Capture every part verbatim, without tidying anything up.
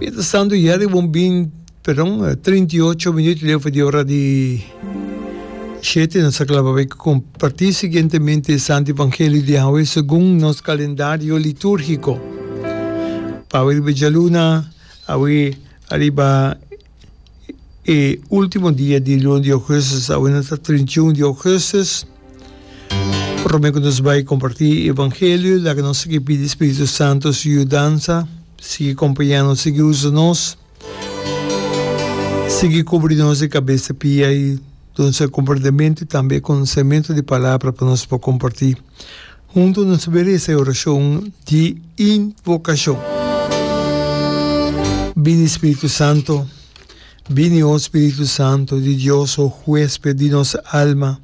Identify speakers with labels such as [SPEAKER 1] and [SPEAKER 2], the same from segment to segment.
[SPEAKER 1] Mientras tanto ya riba un bin, perdon, trinta i ocho minuut leu for di ora di shete nos ta kla pa bai comparti siguientemente e Santo Evangelio di awe segun nos calendario liturgico. Pa awe riba djaluna, awe ariba e ultimo dia di luna di augustus, awe nos ta trinta i un di augustus. Prome ku nos bai kompartí e evangelio, laga nos sigui pidi Spiritu Santu su yudansa, sigui kompañá nos, sigui usa nos, sigui kubri nos di kabes te pia i duna nos e komprendementu i tambe e konosementu di palabra pa nos por kompartí. Huntu nos ta bai resa e orashon di invokashon. Bini Spiritu Santu. Bini, o Spiritu Santu di Dios, o Huésped di nos alma,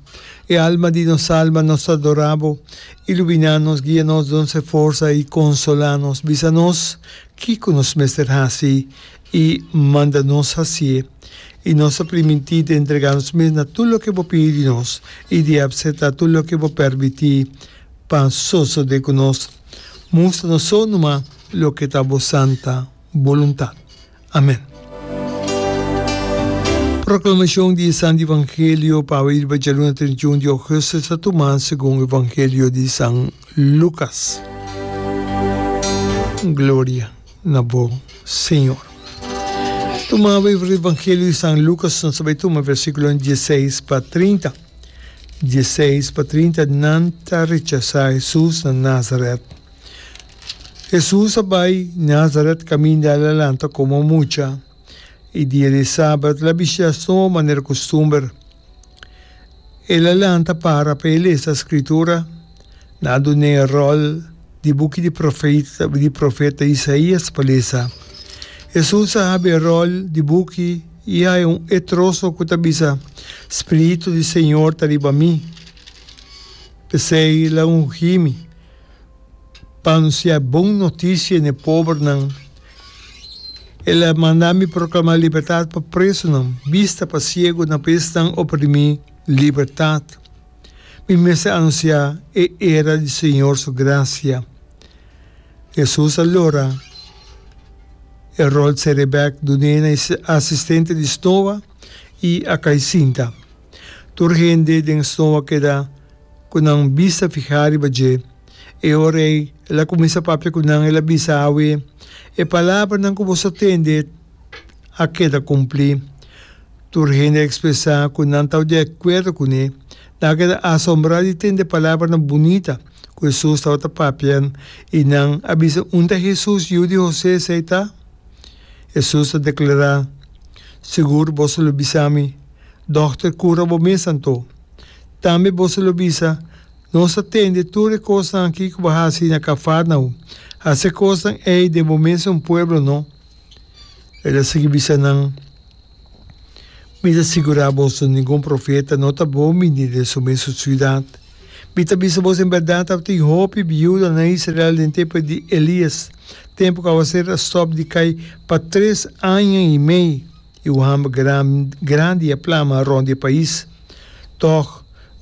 [SPEAKER 1] e alma di nos alma, nos ta adorá Bo. Iluminá nos, guia nos, duna nos e forsa i konsolá nos. Bisa nos kiko nos mester hasi i manda nos hasié. I nos ta primintí di entregá nos mes na tur loke Bo pidi di nos i di apseptá tur loke Bo permití pa sosodé ku nos. Mustra nos so numa loke ta Bo santa boluntat. Amen. Proclamacion di e Santo Evangelio pa awe riba djaluna trinta i un di augustus ta tuma segun Evangelio di San Lucas. Gloria na bo, Señor. Tuma awe Evangelio di San Lucas, nos ta bai tuma versiculonan dieseis pa trinta. Dieseis pa trinta, Nan ta rechasa Jesus na Nazaret. Hesus a bai Nazaret kaminda el a lanta komo mucha, i dia di sabat el a bishitá snoa manera kustumber. El a lanta para pa e lesa Skritura. Nan a dun'é e ròl di buki di di profeta Isaías pa lesa. Hesus a habri e ròl di buki i haña un e troso ku ta bisa, Spiritu di Señor ta riba mi, p'esei el a ungí mi. Pa anunsiá bon notisia n'e pobernan. El a manda mi proklamá libertat pa presonan, bista pa siegunan, pa esnan oprimí, libertat. Mi mester anunsiá e era di Señor su grasia. Hesus a lora e ròl sere bèk dun'é na e asistente di snoa i a kai sinta. Tur hende den snoa keda ku nan bista fihá riba dje. E ora ei el a kuminsá papia ku nan, el a bisa, Awe, e palabranan ku boso a tende a keda kumplí. Tur hende a ekspresá ku nan tabata di akuerdo kuné. Nan a keda asombrá di tende e palabranan bunita ku Hesus tabata papia, i nan a bisa, Unda Hesus, yu di Hosé, esei ta? Hesus a deklará, Sigur boso lo bisa mi, Dòkter, kura bo mes anto. Tambe boso lo bisa, Nos a tende tur e kosnan akí ku bo a hasi na Kafarnaum. Hasi e kosnan ei den bo mesun pueblo, no? El a sigui bisa nan, Mi ta sigurá boso, ningun profeta no ta bon bini den su mesun siudat. Mi ta bisa boso, en bèrdat tabatin hopi biuda na Israel den tempu di Elías, tempu ku awaser a stòp di kai pa tres aña i mei. I un hamber grandi a plama rond di e pais. Tòg,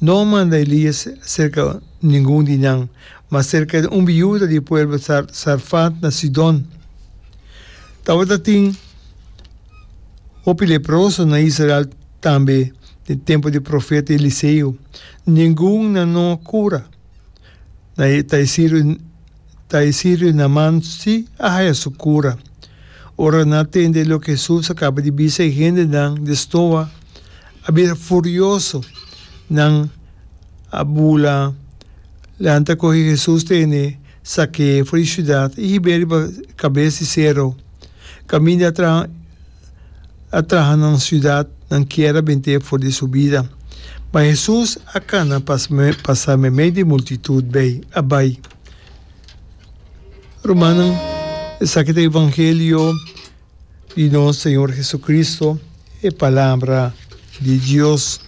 [SPEAKER 1] no a manda Elias serka ningun di nan, ma serka un biuda di e pueblo Sarfat na Sidon. Tabata tin hopi leproso na Israel tambe den tempu di profeta Eliseo. Ningun nan no a kura. Ta e sirio. Ta e sirio Naman sí a haya su kura. Ora nan a tende loke Hesus a kaba di bisa e hendenan di stoa a bira furioso. Nan a bula lanta kohe Hesus tene, sak'é for di siudat i hib'é riba kabes di sero. Kaminda a traha a traha nan siudat, nan kier a bent'é for di su bida. Ma Hesus a kana pasa meimei di e multitut bei a bai. Rumannan, esaki ta evangelio di nos Señor Jesucristo, e palabra di Dios.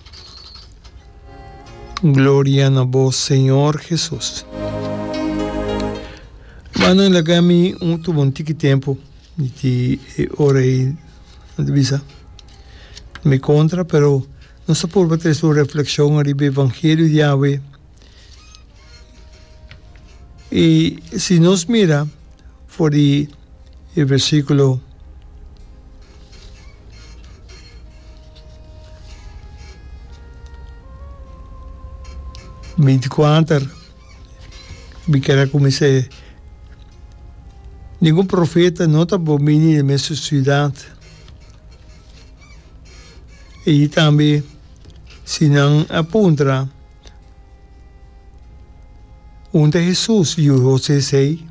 [SPEAKER 1] Gloria na bo, Señor Jesus. Rumannan, laga mi un tuma un tiki tempu di e ora ei, nan ta bisa, mi kontra, pero nos ta purba trese un reflekshon ariba evangelio di awe. I si nos mira for di e versíkulo Binti kuater, mi kier a kuminsá. Ningun profeta no ta bon bini den mesun siudat. I tambe si nan a puntra, "Unda Hesus, yu Hosé esei?"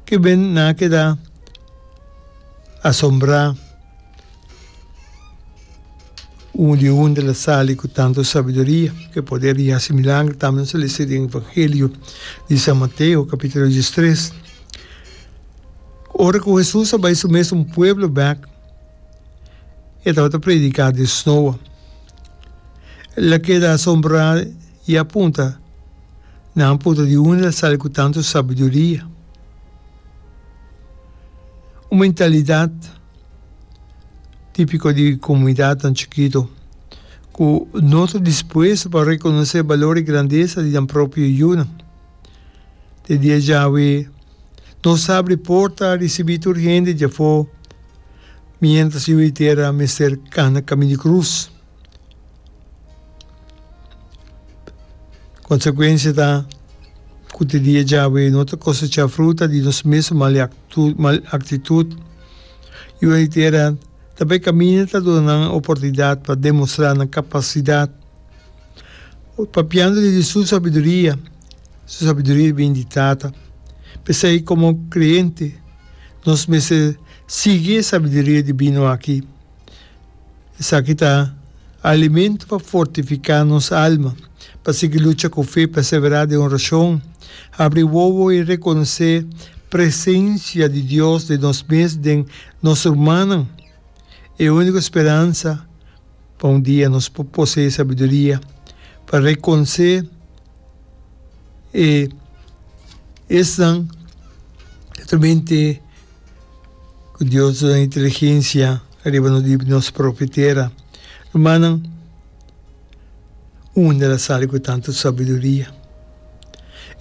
[SPEAKER 1] Ke ben nan a keda asombrá un di unda el a sali ku tantu sabiduria, ku e poder di hasi milagro. Tambe nos a lesa den Evangelio di San Mateo kapítulo diestres. Ora ku Hesus a bai su mesun pueblo bèk, e tabata prediká den snoa. El a keda asombrá i a punta, Nan a puntra di unda el a sali ku tantu sabiduria? Un mentalidat típiko di komunidatnan chikitu ku no ta dispuesto pa rekonosé balor i grandesa di nan propio yunan. Te dia djawe nos ta abri porta risibí tur hende djafó miéntras yu di tera mester kana kaminda di krus. Konsekuensia ta ku te dia djawe no ta kosechá fruta di nos mes mal mal aktitut. Yu di tera ta bai kaminda ta duna nan oportunidat pa demostrá nan kapasidat. Papiando di su sabiduria, su sabiduria bin di Tata. P'esei komo kreyente nos mester sigui e sabiduria dibino aki. Esaki ta alimento pa fortifiká nos alma, pa sigui lucha ku fe, perseverá den orashon, habri wowo i rekonosé presensia di Dios den nos mes, den nos rumannan. E úniko speransa pa un dia nos por poseé sabiduria pa rekonosé e esnan realmente ku Dios duna inteligensia riba nos di nos propio tera. Rumannan, unda el a sali ku tantu sabiduria?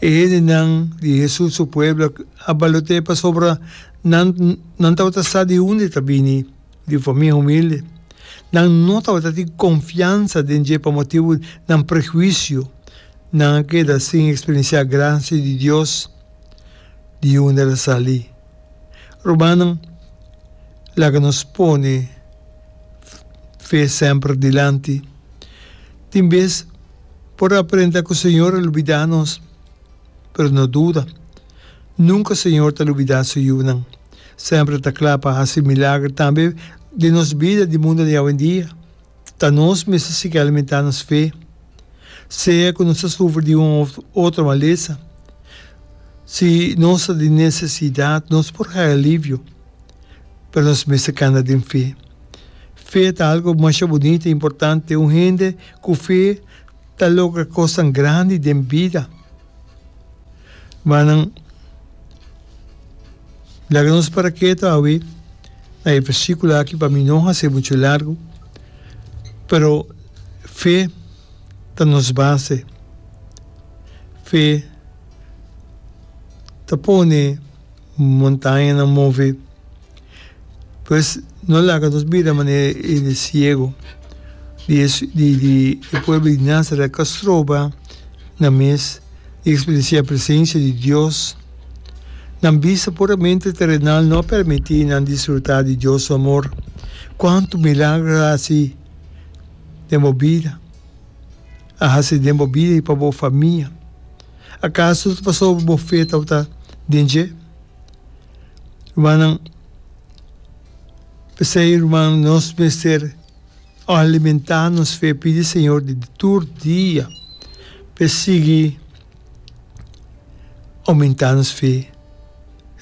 [SPEAKER 1] E hendenan di Hesus su pueblo a balot'é pasobra nan nan tabata sa di unda e ta bini, di un famia humilde. Nan no tabata tin konfiansa den dje pa motibu nan prehuisio. Nan a keda sin eksperensiá grasia di Dios. Di unda el a sali? Rumannan, laga nos pone fe semper dilanti. Tin bes por aparenta ku Señor a lubidá nos, pero no duda, nunka Señor ta lubidá su yunan. Semper e ta kla pa hasi milager tambe den nos bida di mundu di awendia. Ta nos mester sigui alimentá nos fe, sea ku nos ta sufri di un òf otro malesa. Si nos ta den nesesidat, nos por haña alivio, pero nos mester kanda den fe. Fe ta algu masha bunita i importante. Un hende ku fe ta logra kosnan grandi den bida. Rumannan, laga nos para ketu awe na e versíkulo aki pa mi no hasi muchu largu, pero fe ta nos base. Fe ta pone montañanan move. Pues no laga nos bira manera e ciego di di di e pueblo di Nazaret ku a stroba nan mes di eksperensiá e presensia di Dios. Nan bista puramente terenal no a permití nan disfrutá di Dios su amor. Kuantu milagro a hasi den bo bida, a hasi den bo bida i pa bo famia? Akaso ta pasobra bo fe tabata den dje? Rumannan, p'esei ruman nos mester alimentá nos fe, pidi Señor di tur dia p'e sigui oumentá nos fe,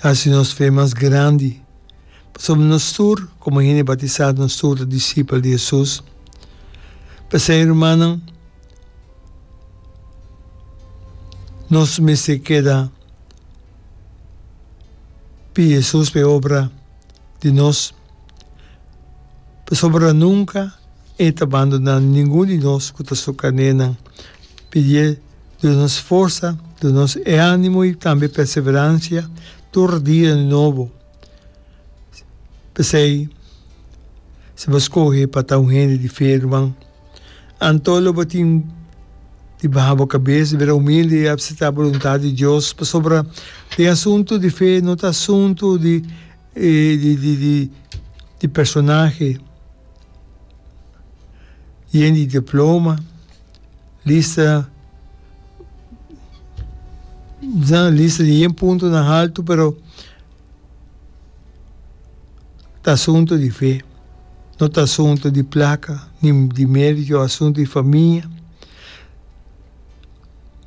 [SPEAKER 1] hasi nos fe mas grandi, pasobra nos tur komo hende batisá nos tur ta disipel di Hesus. P'esei rumannan, nos mester keda Pidi Hesus pa e obra di nos, pasobra nunka E ta bandoná ningun di nos ku ta Su karnénan. Pidié duna nos forsa, duna nos e ánimo i tambe perseveransia tur dia di nobo. P'esei, si bo skohe pa ta un hende di fe, ruman, anto lo bo tin. Di baha bo kabes, di bira humilde i apseptá boluntat di Dios, pasobra den asuntu di fe no ta asuntu di di di di di personahe yen di diploma, lista lista di yen puntonan haltu, pero ta asuntu di fe, no ta asuntu di plaka ni di merito, asuntu di famia.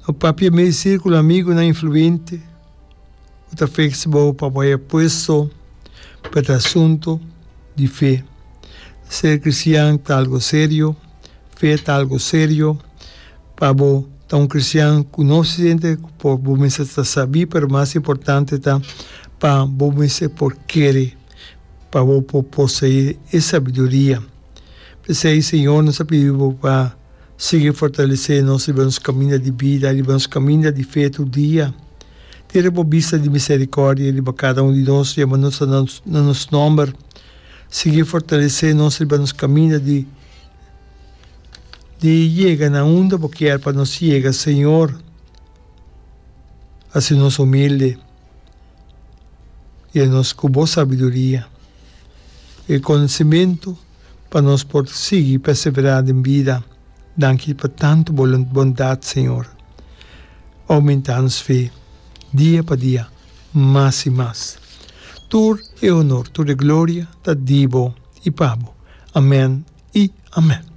[SPEAKER 1] No papia mei sirkulo amigunan influente ku ta feks bo pa bo haya puesto, pero ta asuntu di fe. Ser kristian ta algu serio, fe ta algu serio. Pa bo ta un kristian ku no siente ku por bo mester ta sabí, pero mas importante ta pa bo mester por kere, pa bo por poseé e sabiduria. P'esei, Señor, nos ta pidi bo pa sigui fortalesé nos riba nos kaminda di bida, riba nos kaminda di fe tur dia. Tira bo bista di miserikòrdia riba kada un di nos, yama nos na nos nòmber. Sigui fortalesé nos riba nos kaminda di di yega na unda bo kier pa nos yega, Señor. Hasi nos humilde i nos ku bo sabiduria i konosementu pa nos por sigui perseverá den bida. Danki pa tantu bo bondat, Señor. Oumentá nos fe dia pa dia mas i mas. Tur e honor, tur e gloria ta di bo i pa bo. Amèn i amèn.